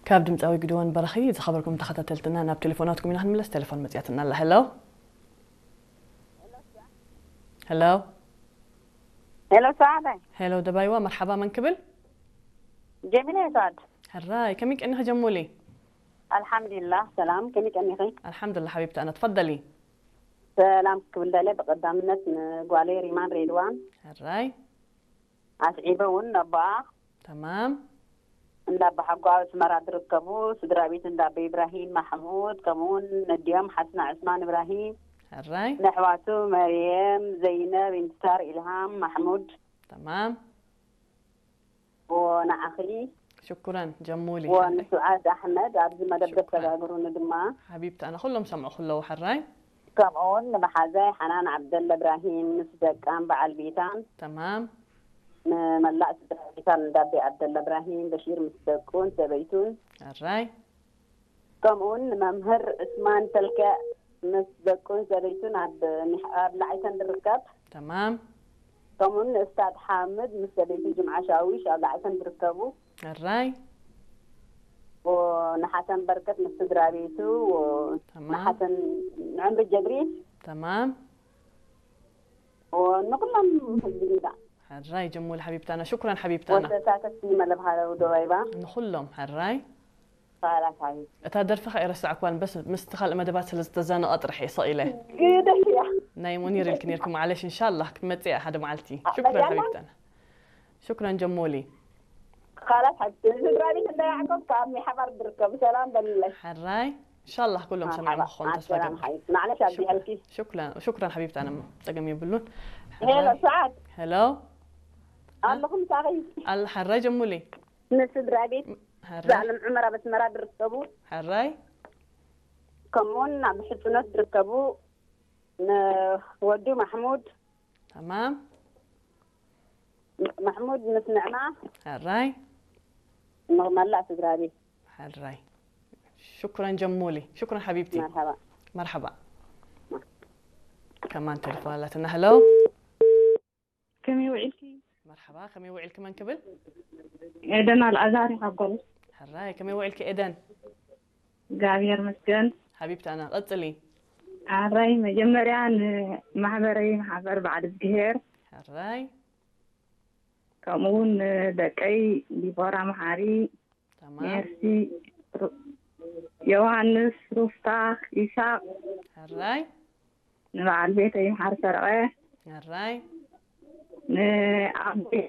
ካብ ድምፃዊ ግድወን በረኺ ዝኸበርኩም ተኸታተልትና ናብ ቴሌፎናትኩም ኢና ክንምለስ። ቴሌፎን መፅያትና ኣላ። ሄሎ፣ ሄሎ፣ ሄሎ፣ ሰዓዳይ። ሄሎ ደባይዋ፣ መርሓባ። መን ክብል? ጀሚላ እየ፣ ሰዓድ። ሕራይ፣ ከመይ ቀኒኺ ጀሙሊ? ኣልሓምዱሊላህ፣ ሰላም። ከመይ ቀኒኺ? ኣልሓምዱሊላህ ሓቢብቲ፣ ኣነ ትፈደሊ። ሰላም ክብል ደለ ብቐዳምነት ንጓለይ ሪማን ሬድዋን ሕራይ። ኣስዒበ እውን ነቦኣ ተማም። እንዳ ኣባሓጎ ኣብ ኣስመራ ዝርከቡ ስድራ ቤት እንዳ ኣቦ ኢብራሂም ማሕሙድ፣ ከምኡውን ነዲኦም ሓስና ዑስማን ኢብራሂም፣ ሕራይ። ነሕዋቱ መርየም፣ ዘይነብ፣ ኢንትሳር፣ ኢልሃም፣ ማሕሙድ፣ ተማም። ወንዓኺ ሽኩረን ጀሙሊ። ወንስዓድ ኣሕመድ ኣብዚ መደብ ሽኩረን። ዘሰጋግሩኒ ድማ ሓቢብቲ፣ ኣነ ኩሎም ሰምዑ ክለዉ። ሕራይ። ከምኡውን ንመሓዛይ ሓናን ዓብደላ እብራሂም ምስ ደቃን በዓል ቤታን፣ ተማም። ንመላእ ስድራ ቤታን እንዳቤ ዓብደላ እብራሂም በሺር ምስ ደቁን ሰበይቱን፣ ሕራይ። ከምኡውን ንመምህር ዑስማን ተልከዕ ምስ ደቁን ሰበይቱን ኣብ ሚሕ- ኣብ ላዕይተን ዝርከብ፣ ተማም። ከምኡውን ንእስታድ ሓምድ ምስ ሰበይቱ ጅምዓ ሻዊሽ ኣብ ላዕይተን ዝርከቡ፣ ሕራይ። ንሓሰን በርከት ምስ ስድራ ቤቱ፣ ተማም። ንሓሰን ንዕምሪ ጀብሪል፣ ተማም። ንኩሎም ህዝቢ ጅዳ ሕራይ ጀሙሊ ሓቢብታና፣ ሽኩረን ሓቢብታና። ወተሳተፍቲ መለብ ሃለው ደባይባ። ንኹሎም ሕራይ። ኻላስ ሓቢብ እታ ደርፊ ከ ኣይረሳዕኩዋን፣ በስ ምስቲ ካልእ መደባት ስለ ዝተዛነቐ ጥራሕ እየ ሰቒለ። ግደሽ እያ። ናይ ሙኒር ኢልኪ ነርኪ፣ ማዕለሽ፣ እንሻላህ ክትመጽእ እያ ሓደ መዓልቲ። ኣብ ሽኩረን መጃና? ሓቢብታና። ሽኩረን ጀሞሊ። ኻላስ ሓቢብ ስድራ ቤት እንዳ ያዕቆብ ካብ ሚሓባር ዝርከቡ ሰላም በልለይ። ሕራይ። እንሻላህ ኩሎም ሰሚዖም ክኾኑ ተስፋ ሰላም ገብር። ሓቢብ ማዕለሽ ኣብዚሐልኪ። ሽኩረን፣ ሽኩረን ሓቢብታና፣ ጸገም የብሉን። ሄሎ ሰዓት ሄሎ። ኣለኹም ሳኺ ኣል ሕራይ ጀሙሊ። ንስድራ ቤት ሕራይ። ዛዕለም ዑመር ኣብ ኣስመራ ዝርከቡ ሕራይ። ከምኡውን ኣብ ሕፅኖት ዝርከቡ ንወዱ ማሕሙድ ተማም። ማሕሙድ ምስ ንዕማ ሕራይ። ንመላእ ስድራ ቤት ሕራይ። ሽኩረን ጀሙሊ። ሽኩረን ሓቢብቲ። መርሓባ። መርሓባ። ከማን ቴሌፎን ኣላትና። ሄሎ። ከመይ ውዒልኪ? መርሓባ፣ ከመይ ውዒልኪ? መን ክብል? ኤደን ኣልኣዛር ካብ ጎል። ሕራይ፣ ከመይ ውዒልኪ ኤደን? እግዚኣብሔር መስገን። ሓቢብታና ቀጽሊ። ኣራይ መጀመርያ ንማሕበረይ ማሕበር በዓል እግዚኣብሔር ሕራይ። ከምኡ እውን ንደቀይ ዲቦራ መሓሪ፣ ተማም። ሜርሲ፣ ሩ- ዮሃንስ፣ ሩፍታ፣ ይሳቅ፣ ሕራይ። ንበዓል ቤተይ መሓሪ ሰረቐ፣ ሕራይ። ንኣቦይ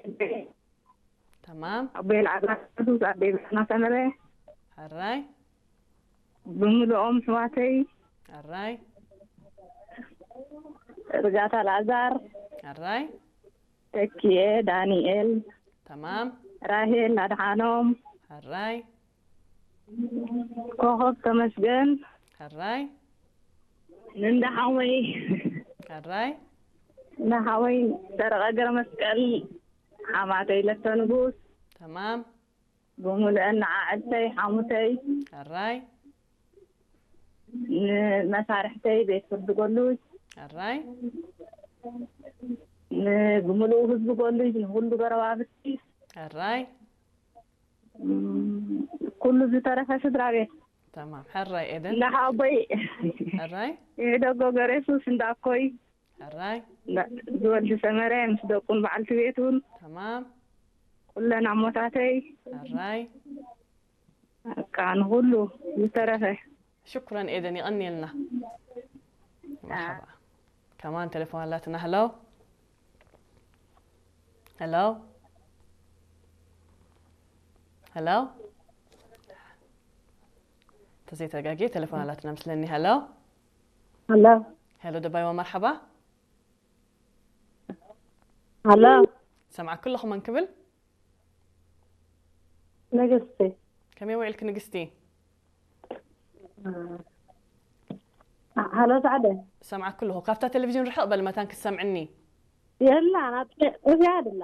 ተማም። ኣቦይ ልዓዛር ቅዱስ፣ ኣቦይ ብርሃና ሰመረ፣ ሕራይ። ብምልኦም ኣሕዋተይ ሕራይ። ርጋታ ልኣዛር፣ ሕራይ። ተኪኤ ዳንኤል፣ ተማም። ራሄል ኣድሓኖም፣ ሕራይ። ኮኸብ ተመስገን፣ ሕራይ። ንእንዳ ሓወይ ሕራይ። ንሓወይ ሰረቐ ገረመስቀል፣ ሓማተይ ለተ ንጉስ፣ ተማም። ብምሉአን ንዓዕልተይ ሓሙተይ፣ ሕራይ። ንመሳርሕተይ ቤት ፍርዲ ጎሉጅ፣ ሕራይ። ንብምሉኡ ህዝቢ ጎሉጅ፣ ንኩሉ ጎረባብቲ፣ ሕራይ። እም፣ ኩሉ ዝተረፈ ስድራ ቤት ተማም። ሕራይ ኤደን። ንሓቦይ ሕራይ። ይሕደጎ ገሬሱስ እንዳኮይ ሕራይ። ዝወልድ ሰመረ ምስ ደቁን በዓልቲ ቤቱን ተማም። ኩለን ኣሞታተይ ሕራይ። በቃ ንኩሉ ዝተረፈ ሽኩረን ኤደን፣ ይቐንየልና። መርሓባ። ከማን ቴሌፎን ኣላትና። ሄሎ። ሄሎ። ሄሎ። ተዘይተጋጌ ቴሌፎን ኣላትና ምስለኒ። ሄሎ። ሄሎ። ሄሎ ደባይዋ፣ መርሓባ። ሄሎ። ሰምዓኪ ኣለኹ። መን ክብል? ንግስቲ። ከመይ ውዒልኪ ንግስቲ? ሄሎ ሳዕደ። ሰምዓኪ ኣለኹ። ካብታ ቴሌቪዥን ርሕቕ በል መታን ክትሰምዕኒ። የላን፣ ኣብ እዚኣ ድላ።